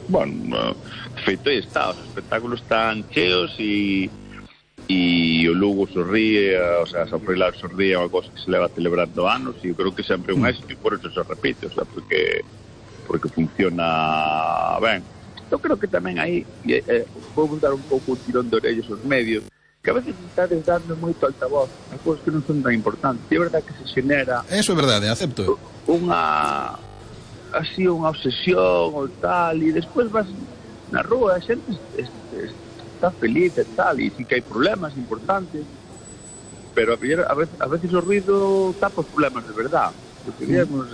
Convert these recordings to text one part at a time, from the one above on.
bueno, feito aí está, os espectáculos están cheos e o Lugo sorríe, o sea, San Froilán sorríe, é unha cosa que se leva celebrando anos e eu creo que sempre é un éxito e por eso se repite, o sea, porque funciona ben. Eu creo que tamén aí vou dar un pouco un tirón de orellas aos medios, que a veces estades dando moito altavoz a cousas que non son tan importantes. E é verdade que se xenera... Eso é verdade, acepto. Unha obsesión ou tal, e despois vas na rúa, a xente está feliz e tal, e sí que hai problemas importantes, pero a veces o ruido tapa os problemas de verdade, porque digamos,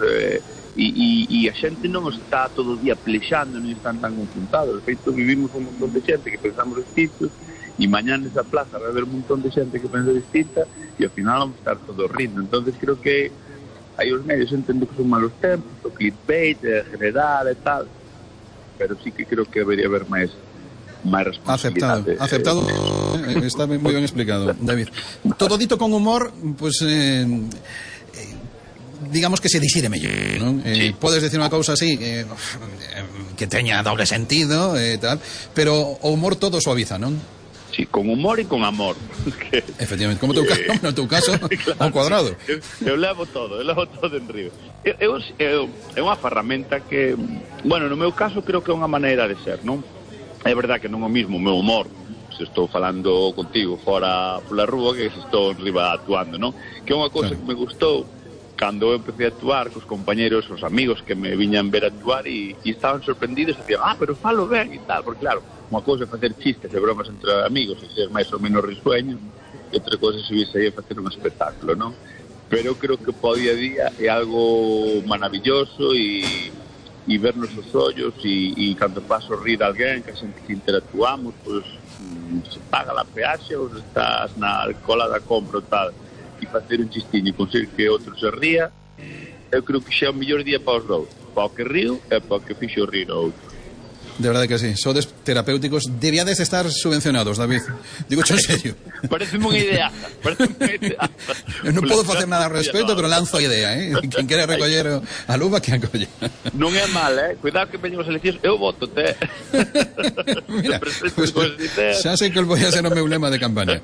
e a xente non está todo o día plexando, non están tan confrontados. De feito, vivimos un montón de xente que pensamos distintos, e mañá nesa plaza vai haber un montón de xente que pensa distinta, e ao final vamos estar todos rindo. Entonces creo que aí os medios entendo que son malos tempos, o clickbait, general e tal, pero sí que creo que debería haber máis responsabilidade. Aceptado. Está moi ben explicado, David. Todo dito con humor, pues digamos que se dixire mellor, non? Sí. Podes decir unha cousa así que teña doble sentido tal, pero o humor todo suaviza, non? Sí, con humor e con amor. Efectivamente, como no teu caso, claro, ao cuadrado. Eu levo todo en río. É unha ferramenta que, bueno, no meu caso creo que é unha maneira de ser, non? É verdade que non é o mismo o meu humor se estou falando contigo fora pola rúa que se estou arriba actuando, non? Que é unha cousa que me gustou cando eu empecé a actuar cos compañeros, os amigos que me viñan ver actuar e estaban sorprendidos e dicían, pero falo ben e tal, porque claro, unha cousa é facer chistes e bromas entre amigos e ser máis ou menos risueño, e outra cousa é subirse aí a facer un espectáculo, non? Pero eu creo que po día a día é algo maravilloso e vernos os ollos e cando paso rir a alguén que a xente que interactuamos, pois se paga a peaxe ou estás na cola da compra ou tal, e facer un chistiño e conseguir que outro se ría, eu creo que xa é o mellor día para os dous, para o que río e para o que fixo rir o outro. De verdade que sí, sodes terapéuticos, debíades estar subvencionados, David. Digo en serio. Parece unha idea. Non podo facer nada ao respecto, pero lanzo a idea, Quen quere recoller a luva, que a colle. Non é mal, Cuidado que veñen as eleccións, eu voto-te. Mira, pues, xa sei que vou a ser o meu lema de campaña.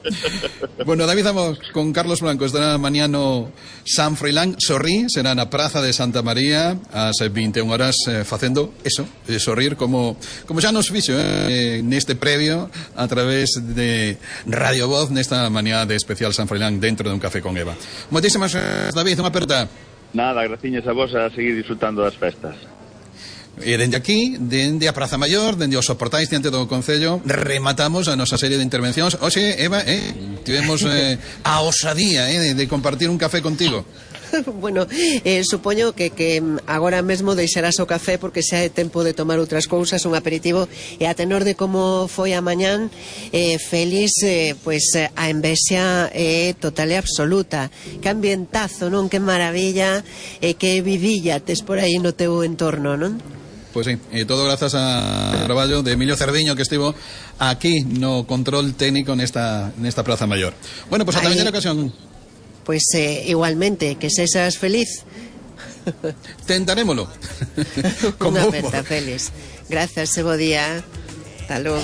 Bueno, David, vamos con Carlos Blanco, estará mañá no San Froilán, sorrí, será na Praza de Santa María, ás 21 horas, facendo eso, sorrir como xa nos fixo neste previo a través de Radio Voz nesta mañá de especial San Froilán dentro de un café con Eva. Moitísimas gracias, David, unha aperta. Nada, graciñas a vos a seguir disfrutando das festas. E dende aquí, dende a Praza Maior, dende os soportais diante do Concello, rematamos a nosa serie de intervencións. Oxe, Eva, tivemos a osadía de compartir un café contigo. Bueno, supoño que agora mesmo deixarás o café porque xa é tempo de tomar outras cousas, un aperitivo, e a tenor de como foi a mañán, Félix, pois a envexa é total e absoluta. Que ambientazo, non? Que maravilla, que vidilla tes por aí no teu entorno, non? Pois sí, todo grazas ao traballo de Emilio Cerdiño, que estivo aquí no control técnico nesta Praza Maior. Bueno, pois ata a mañana ocasión. Pois igualmente, que sexas feliz. Tentarémolo. Unha aperta, Félix. Grazas, bo día. Hasta logo.